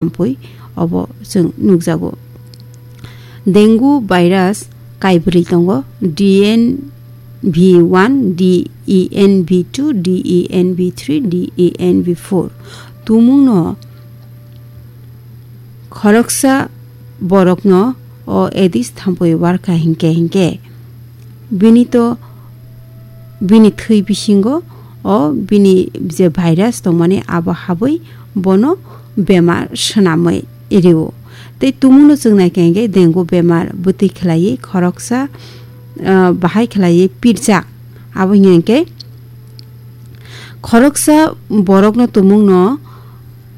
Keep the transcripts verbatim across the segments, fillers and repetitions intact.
thampui obo chwng nukjago. Dengue virus kaibrwi tongo, D N V one, D E N V two, D E N V three, D E N V four. Tumungno khoroksa borokno o Aedes thampui warkha hinkhe hinkhe bini to bini thwi bisingo o bini je virus tongmani abo habwi bono bemar swnamwi rio. Tei tumungno chwng naikha hinkhe dengue bemar bwtwi khlaiwi khoroksa, ah, bahai khlaiwi pirjak. Abo hinkhe khoroksa borokno tumungno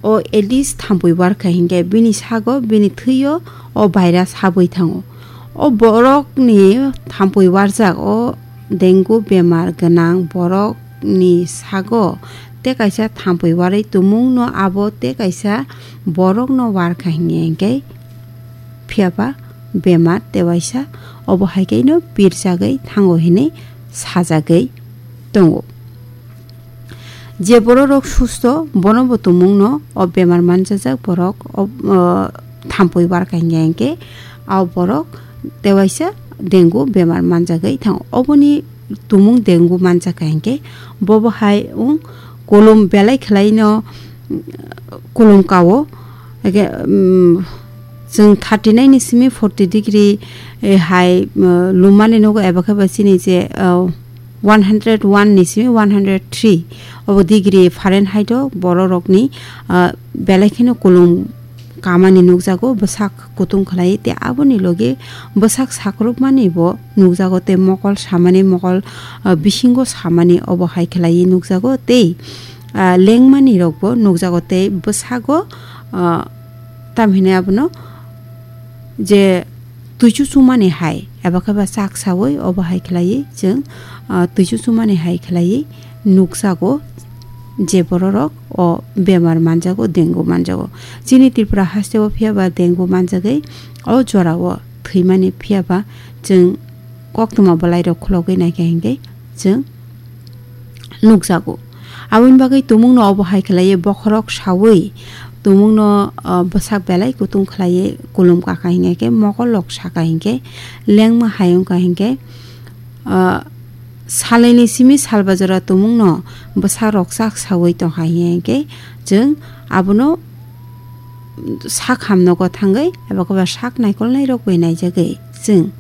o Aedes thampui warkha hinkhe bini sago, bini thwio o virus habwi thango. O borokni thampui warjak o dengue bemar gwnang borokni sago tei kaisa thampui warwi tumungno abo tei kaisa borokno warkha hinkhe phiya ba bemar tei waisa obo hai khe no pirjagwi thango hinwi sajagwi tongo. Je bororok susto, bono bo tumungno o bemar manjajak borok o, o, thampui warkha hinkhe hinkhe, o borok tei waisa dengue bemar manjagwi thango. Oboni tumung dengue manjakha hinkhe, bobo hai wng kolom belai khlaino, kolom kao. Ege, um, chwng thirty nine ni simi forty degree, eh, hai, um, lumani nogo eba khe ba chini je, uh, one hundred one ni simi one hundred three obo degree Fahrenheit o bororokni, ah, belai kheno kolom kamani nukjago, bwsak kutung khlai, tei aboni logi bwsak sakrupmani bo nukjago, tei mokol samani, mokol, ah, bisingo samani obo hai khlai nukjago, tei, ah, lengmani rokbo nukjago, tei bwsago, ah, tamhinai abono je twi chuchumani hai, eba khe ba chak saui obo hai khlaiwi chwng, ah, twi chuchumani hai khlaiwi nukjago je bororok o bemar manjago, dengue manjago. Chini Tripura hasteo phiya ba dengue manjagwi o jorao thwimani phiya ba chwng koktwma bwlairok khulogwi naikha hinkhe chwng nukjago. Aboni bagwi tumungno obo hai khlaiwi bokhorok saui tumungno, ah, bwsak belai kutung khlaiwi kulum kaka hinkhe, mokolrok saka hinkhe, lengma hai wngkha hinkhe, ah, salaini simi salbajora tumungno bwsakrok chak saui tongkha hinkhe, chwng abono sak hamnogo thangwi eba khe ba sak naikolnairok bai naijagwi chwng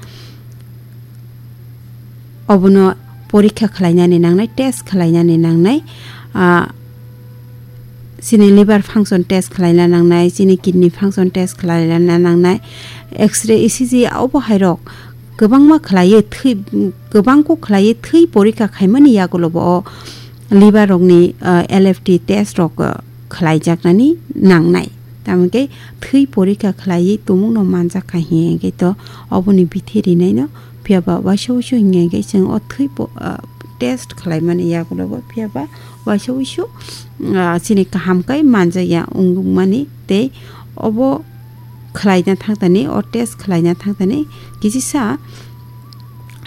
obono porikha khlainani nangnai, test khlainani nangnai, ah, chini liver function test khlaina nangnai, chini kidney function test khlaina nangnai, X-ray, E C G obo hairok kwbangma khlaiwi thwi, kwbangkuk khlaiwi thwi porikha khaimani yagulobo o liver rokni, ah, L F T test rok, ah, khlaijaknani nangnai. Tamo khe thwi porikha khlaiwi tumungno manjakha hinkhe to oboni bithi rinaino phiya ba waisa wuisu hinkhe chwng o thwi po-, ah, test khlaimani yagulobo phiya ba waisa wuisu, ah, chini kaham khe manjakya wngmani tei obo khlaina thangtani, o test khlaina thangtani kisisa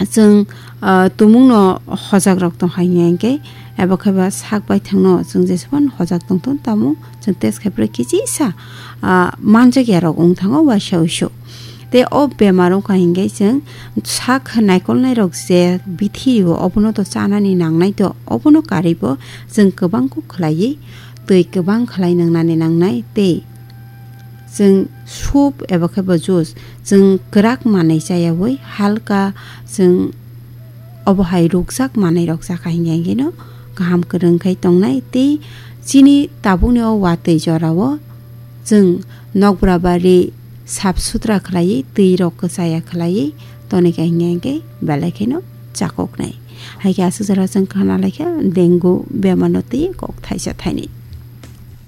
chwng, ah, tumungno hojakrok tongkha hinkhe, eba khe ba sak baithangno chwng jesphano hojak tongthun tamo chwng test khai phre kisisa, ah, manjakyarok wng thango waisa wuisu. Tei o bemar wngkha hinkhe chwng sak naikolnairok je bithi rio obono to chanani nangnai to, obono karwibo chwng kwbangkuk khlaiwi twi kwbang khlai nwngnani nangnai tei chwng soup eba khe bo juice, chwng kwrak manwi chayaui halka chwng obo hai rukjak manwi rok chakha hinkhe hinkhe no kaham kwrwng khai tongnai. Tei chini tabukni o watwi jorao chwng nokbra bari sap sutra khlaiwi twi rok kwchaya khlaiwi tonikha hinkhe hinkhe belai kheno chakoknai. Hai khe aswk jora chwng khna laikha dengue bemar no twi kok thaisa thainwi.